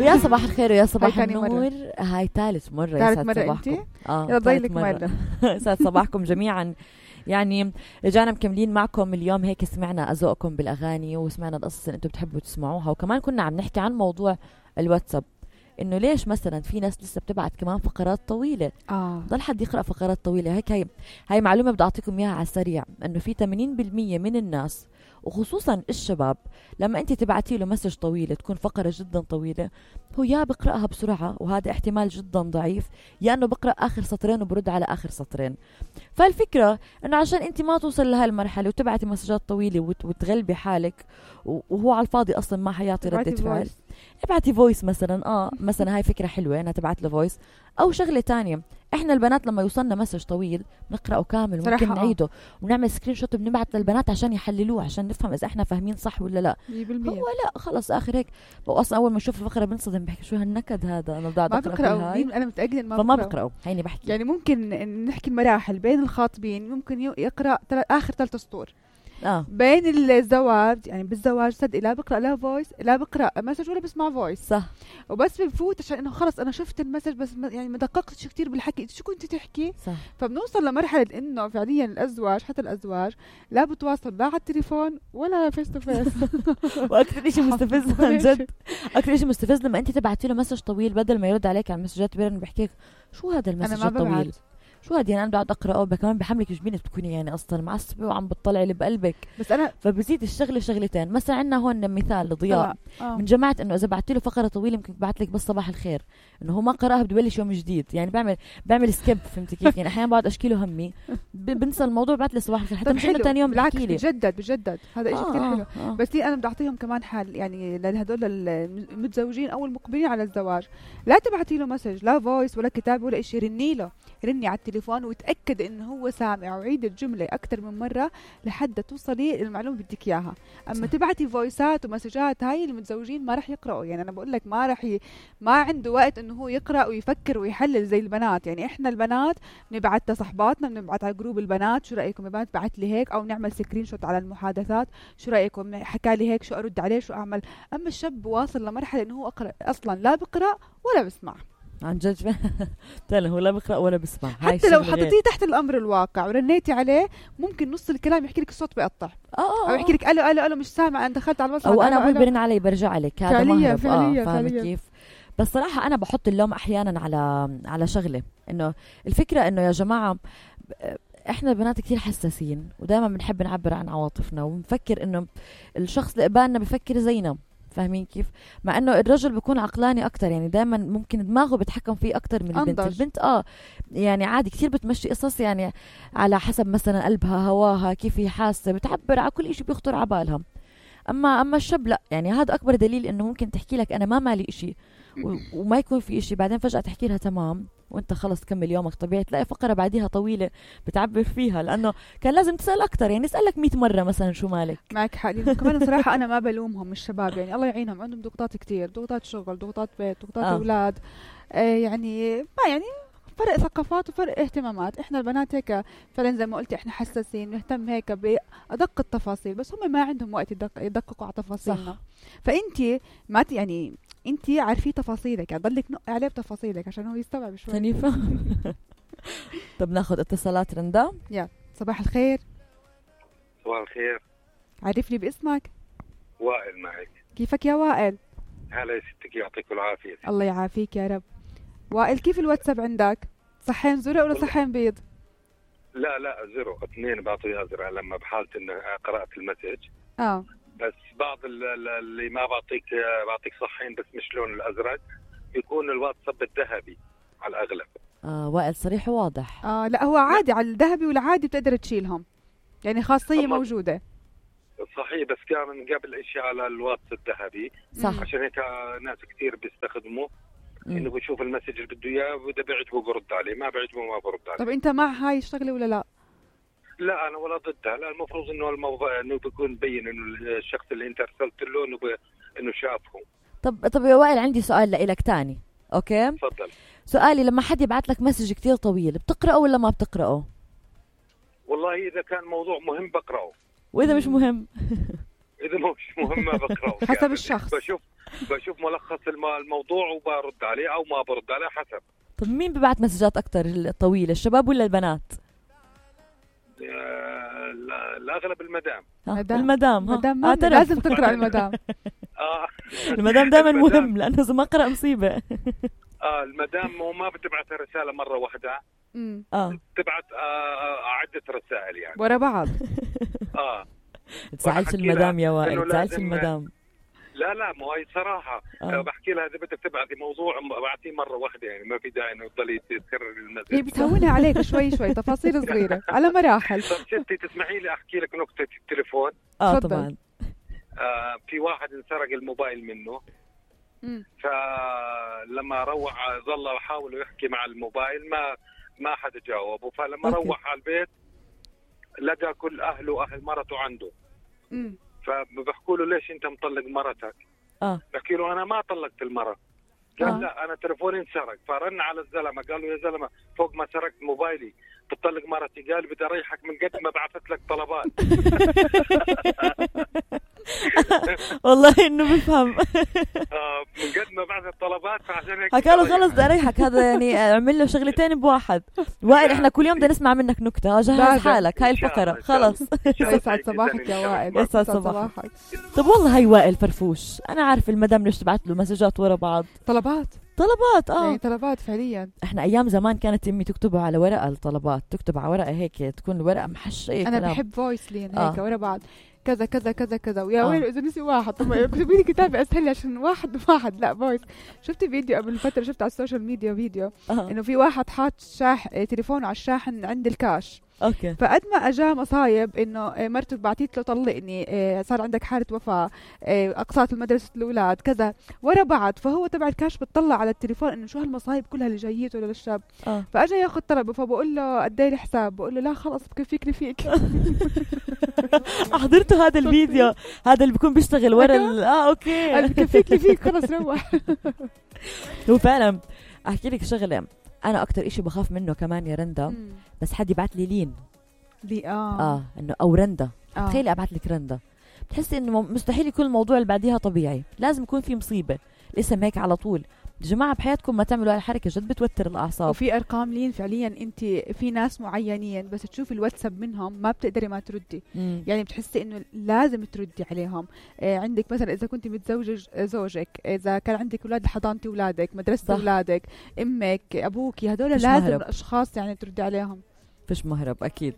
ويا صباح الخير ويا صباح هاي تاني النور. هاي ثالث مرة. ثالث مرة انتي؟ يلا ضيلك مرة. يسعد صباحكم جميعا. يعني رجعنا مكملين معكم اليوم. هيك سمعنا أذواقكم بالأغاني وسمعنا القصص اللي انتم بتحبوا تسمعوها، وكمان كنا عم نحكي عن موضوع الواتساب، انه ليش مثلا في ناس لسه بتبعت كمان فقرات طويله. ضل حد يقرا فقرات طويله هيك. هاي معلومه بدي اعطيكم اياها على السريع، انه في 80% من الناس وخصوصا الشباب لما انت تبعتي له مسج طويله تكون فقره جدا طويله، هو يا بقراها بسرعه وهذا احتمال جدا ضعيف، يا انه بقرا اخر سطرين وبرد على اخر سطرين. فالفكره انه عشان انت ما توصل لهالمرحله وتبعتي مسجات طويله وتغلبي حالك وهو على الفاضي اصلا ما حيعطي رده فعل، ابعتي فويس مثلا. مثلا هاي فكره حلوه انها تبعت له فويس. او شغله تانية، احنا البنات لما يوصلنا مسج طويل نقراه كامل ممكن نعيده ونعمل سكرين شوت وبنبعت للبنات عشان يحللوه، عشان نفهم اذا احنا فاهمين صح ولا لا. هو لا خلص اخر هيك. واصلا اول ما اشوف الفقره بنصدم، بحكي شو هالنكد هذا، انا بدي اقرا هاي. انا متاكده فما بقراه. هيني بحكي يعني ممكن نحكي المراحل بين الخاطبين، ممكن يقرا اخر 3 سطور. بين الزواج، يعني بالزواج صدق لا بقرا لا فويس لا بقرا مسج ولا بسمع فويس، صح. وبس بفوت عشان انه خلص انا شفت المسج بس يعني ما دققتش كثير بالحكي شو كنت تحكي، صح. فبنوصل لمرحله انه فعليا الازواج، حتى الازواج لا بتواصل لا على التليفون ولا فيس تو فيس. واكثر شيء مستفز عن جد، اكثر شيء مستفز لما انت تبعتي له مسج طويل بدل ما يرد عليك على المسجات بيرن بحكيك شو هذا المسج الطويل، شو هادي. انا بقعد اقراه كمان بحملك جبينك بتكوني يعني اصلا معصبه وعم بتطلعي اللي بقلبك. بس انا فبزيد الشغله شغلتين. مثلا عندنا هون مثال لضياء من جماعه انه اذا بعتي له فقره طويله ممكن يبعث لك بس صباح الخير، انه هو ما قراها بده يبلش يوم جديد. يعني بعمل سكيب، فهمتي كيف؟ يعني احيانا بقعد اشكي له همي بنسى الموضوع بعث لي صباح الخير حتى مش انه ثاني يوم بحكي لي بجدد هذا شيء كثير حلو. بس انا بدي اعطيهم كمان حل يعني لهدول المتزوجين او المقبلين على الزواج، لا تبعتي له مسج لا فويس ولا كتاب ولا شيء، رني على التليفون وتأكد انه هو سامع، وعيد الجمله اكثر من مره لحد توصلي للمعلومه اللي بدك اياها. اما تبعتي فويسات ومسجات، هاي المتزوجين ما راح يقراوا. يعني انا بقول لك ما عنده وقت انه هو يقرا ويفكر ويحلل زي البنات. يعني احنا البنات بنبعت لصحباتنا، بنبعت على جروب البنات شو رايكم يا بنات بعت لي هيك، او نعمل سكرين شوت على المحادثات شو رايكم حكى لي هيك شو ارد عليه شو اعمل. اما الشاب واصل لمرحله انه هو اصلا لا بقرا ولا بسمع عن جد. هو لا بقرأ ولا بسمع. حتى لو حطيتيه تحت الأمر الواقع ورنيتي عليه ممكن نص الكلام يحكي لك الصوت بيقطع، أو يحكي لك ألو مش سامع أنا دخلت على الوصل، أو أنا أقول برن علي برجع لك. هذا مهرب. فعليا. كيف؟ بس صراحة أنا بحط اللوم أحيانا على شغلة، إنه الفكرة إنه يا جماعة احنا البنات كثير حساسين ودائما بنحب نعبر عن عواطفنا وبنفكر انه الشخص اللي قبالنا بفكر زينا، فاهمين كيف؟ مع انه الرجل بيكون عقلاني اكتر، يعني دائما ممكن دماغه بيتحكم فيه اكتر من البنت. البنت يعني عادي كثير بتمشي قصص يعني على حسب مثلا قلبها هواها كيف هي حاسه، بتعبر على كل شيء بيخطر على بالها. اما الشاب لا، يعني هذا اكبر دليل انه ممكن تحكي لك انا ما مالي إشي وما يكون في إشي، بعدين فجأة تحكي لها تمام وانت خلص كمل يومك طبيعي، تلاقي فقرة بعديها طويلة بتعبر فيها، لأنه كان لازم تسأل أكتر. يعني اسألك 100 مرة مثلا شو مالك. معك حق. كمان صراحة أنا ما بلومهم الشباب، يعني الله يعينهم عندهم ضغوطات كتير، ضغوطات شغل، ضغوطات بيت، ضغوطات أولاد. يعني ما يعني فرق ثقافات وفرق اهتمامات. احنا البنات هيك فعلا زي ما قلتي احنا حساسين نهتم هيك بأدق التفاصيل، بس هم ما عندهم وقت يدققوا على تفاصيلنا. فانتي ما يعني انتي عارفي تفاصيلك، يعني ضلك نقي عليه بتفاصيلك عشان هو يستوعب شوي. حنيفة. طب ناخذ اتصالات. رندا يا صباح الخير. صباح الخير. عرفني باسمك. وائل معك. كيفك يا وائل؟ هلا يا ستك يعطيك العافية. الله يعافيك يا رب. وائل كيف الواتساب عندك؟ صحين زرق ولا صحين بيض؟ لا زرق، 2 بعطيها زرق لما بحالة انه قرأت المسج. بس بعض اللي ما بعطيك صحين بس مش لون الازرق، يكون الواتساب الذهبي على الاغلب. وائل صريح وواضح. لا هو عادي على الذهبي والعادي بتقدر تشيلهم، يعني خاصية موجودة. صحيح، بس كان من قبل اشي على الواتس الذهبي. صح. عشان هيك ناس كتير بيستخدموه انه بشوف المسج اللي بده اياه واذا بيعجبه برد عليه، ما بيعجبه ما برد عليه. طب انت مع هاي الشغله ولا لا؟ لا انا ولا ضدها. لا المفروض انه الموضوع انه بيكون مبين انه الشخص اللي انت ارسلت له انه شافه. طب يا وائل عندي سؤال لك تاني. اوكي تفضل. سؤالي لما حد يبعت لك مسج كتير طويل بتقرأه ولا ما بتقرأه؟ والله اذا كان موضوع مهم بقرأه، واذا مش مهم اذا مش مهم ما بقرأه. حسب الشخص. بشوف ملخص الموضوع وبرد عليه او ما برد عليه حسب. طب مين ببعت مسجات اكتر الطويله، الشباب ولا البنات؟ الاغلب المدام. المدام لازم تقرا المدام. المدام دائما مهم لانه اذا ما قرأ مصيبه. المدام وما بتبعت رساله مره واحده، بتبعت عده رسائل يعني ورا بعض. تزعلش المدام يا وائل، تزعلش المدام. لا مو هي صراحه بحكي لها اذا بدك تبعتي موضوع ابعتيه مره واحده، يعني ما في داعي انه تضلي تكرر المسج. هي بتهونها عليك شوي تفاصيل صغيره على مراحل. طب ستي تسمحي لي احكي لك نكته التليفون؟ طبعا. في واحد انسرق الموبايل منه، فلما روح ظل يحاول يحكي مع الموبايل ما حدا جاوبه، فلما روح على البيت لقى كل اهله واهل مرته عنده. فبحكوا له ليش انت مطلق مرتك؟ بحكي له انا ما طلقت المرة. قال لا انا تليفوني انسرق. فرن على الزلمه قال له يا زلمه فوق ما سرقت موبايلي بتطلق مرتي؟ قال بدي اريحك من قد ما بعثت لك طلبات. والله انه بفهم. من قد ما بعثت طلبات فعشان هيك حكى له خلص بدي اريحك. هذا يعني اعمل له شغلتين بواحد. وائل احنا كل يوم بدنا نسمع منك نكته، جهز حالك هاي الفقره خلص. يسعد صباحك يا وائل. يسعد صباحك. طب والله هاي وائل فرفوش، انا عارف المدام ليش تبعت له مسجات ورا بعض. طلبات يعني طلبات فعليا. احنا ايام زمان كانت امي تكتبها على ورقه، الطلبات تكتب على ورقه هيك تكون الورقه محشيه. انا كلام. بحب فويس لين هيك ورا بعض كذا كذا كذا كذا. ويا ويلي اذا نسي واحد. طب اكتبي لي كتابه اسهل عشان واحد لا فويس. شفت فيديو قبل فتره، شفت على السوشيال ميديا فيديو انه في واحد حاط تليفونه على الشاحن عند الكاش. فقد ما اجا مصايب انه مرته بعتيت له طلقني، صار عندك حاله وفاه، اقساط المدرسه الاولاد كذا ورا بعض. فهو تبع الكاش بتطلع على التليفون انه شو هالمصايب كلها اللي جايته للشاب. فاجا ياخذ طلبه، فبقول له قد ايه الحساب؟ بقول له لا خلص بكفيك فيك. حضرته هذا الفيديو، هذا اللي بيكون بيشتغل ورا اوكي بكفيك فيك خلص روح. هو فعلا. احكي لك شغله، انا اكتر اشي بخاف منه كمان يا رندا، بس حد يبعت لي لين انه او رندا. تخيلي ابعت لك رندا، بتحسي انه مستحيل يكون الموضوع اللي بعديها طبيعي، لازم يكون في مصيبه. الاسم هيك على طول. يا جماعه بحياتكم ما تعملوا هالحركه، جد بتوتر الاعصاب. وفي ارقام لين فعليا انت في ناس معينين بس تشوفي الواتساب منهم ما بتقدري ما تردي. يعني بتحسي انه لازم تردي عليهم. عندك مثلا اذا كنت متزوجه زوجك، اذا كان عندك اولاد حضانتي اولادك، مدرسه اولادك، امك، ابوك، هدول لازم الاشخاص يعني تردي عليهم. فيش مهرب اكيد.